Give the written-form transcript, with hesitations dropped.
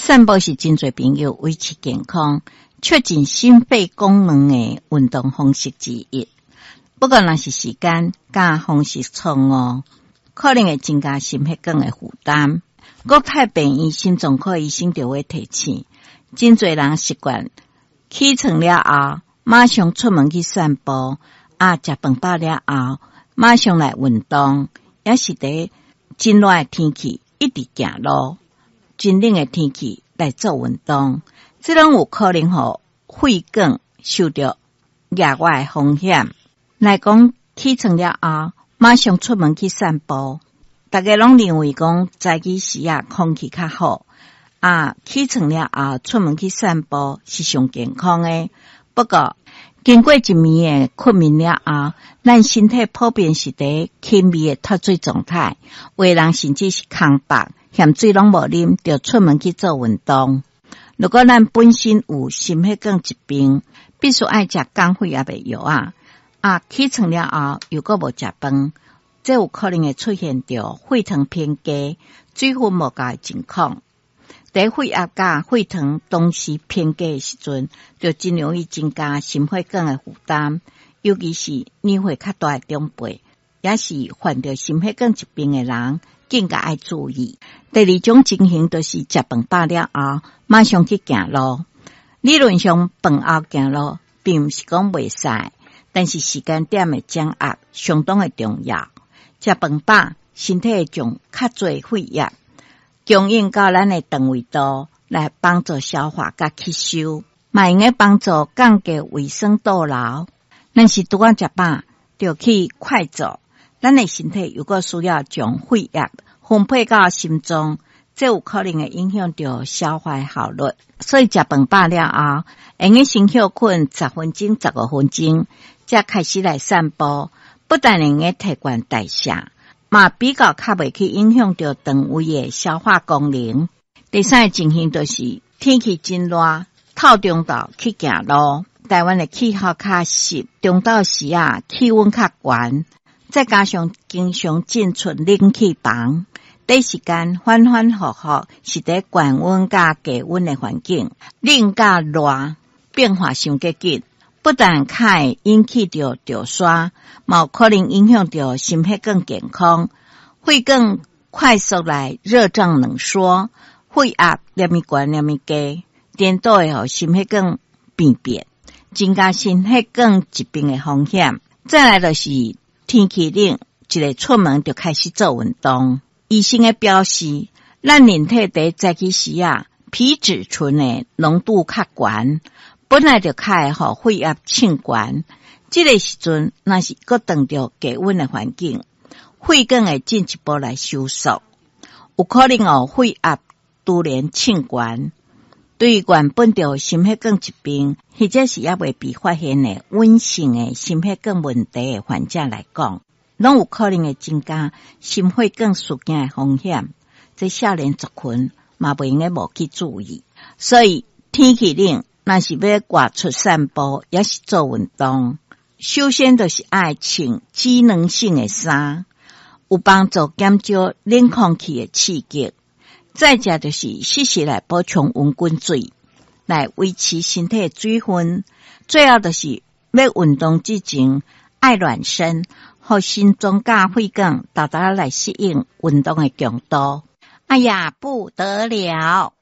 散步是真濟朋友維持健康、促進心肺功能的運動方式之一。不過，若是時間佮方式錯誤，可能會增加心血管的負擔。國泰病院心臟科醫生就會提醒，真濟人習慣起床了後，馬上出門去散步，啊，食飯飽了後，馬上來運動，抑是佇真熱的天氣一直行路，真冷的天氣來做運動，這攏有可能予血管受著額外的風險。來講起床了後，馬上出門去散步，大家攏認為講早起時啊，空氣較好啊，起床了後出門去散步是上健康的。不過，經過一暝的睏眠了後，咱身體普遍是佇輕微的脫水狀態，有的人甚至是空腹，薟水攏無啉，就出門去做運動。如果咱本身有心血管疾病，必須愛食降血壓的藥啊，啊，起床了後又閣無食飯，這有可能會出現著血糖偏低、水分無夠的情況。佇血壓佮血糖同時偏低的時陣，就真容易增加心血管的負擔，尤其是年歲較大的長輩，抑是患著心血管疾病的人，更加愛注意。第二種情形就是食飯飽了後，馬上去行路。理論上，飯後行路並毋是講袂使，但是時間點的掌握相當的重要。食飯飽，身體會將較濟血液供應到咱的腸胃道，來幫助消化佮吸收，嘛會用幫助降低胃酸倒流。若是拄仔食飽，就去快走，咱的身體又閣需要將血液分配到心臟，這有可能會影響著消化效率。所以食飯飽了後，會用先歇睏10分鐘、15分鐘，才開始來散步。不但會用提懸代謝，嘛比較較袂去影響著腸胃的消化功能。第三個情形就是天氣真熱，透中晝去行路。台灣的氣候較濕，中晝時啊氣溫較懸，再加上經常進出冷氣房，短時間反反覆覆是佇懸溫佮低溫的環境，冷佮熱變化傷過緊，不但較會引起著著痧，嘛有可能影響著心血管健康，血管快速來熱脹冷縮，血壓連咪懸連咪低，顛倒會予心血管病變，增加心血管疾病的風險。再來就是天氣冷，一个出門就開始做運動。醫生的表示，咱人體佇早起時啊，皮質醇的濃度較懸，本來就較會予血壓升懸。這個時陣，若是閣碰著低溫的環境，血管會進一步來收縮，有可能予血壓突然升懸。對於原本就心血管疾病，或者是猶未被發現的隱性的心血管問題的患者來講，攏有可能會增加心血管事件的風險。這少年族群嘛袂用得無去注意。所以天氣冷，若是欲外出散步，抑是做運動，首先就是愛穿機能性的衫，有幫助減少冷空氣的刺激。再者就是適時來補充溫滾水，來維持身體的水分。最後就是欲運動之前愛暖身，予心臟佮血管沓沓來適應運動的強度。哎呀，不得了！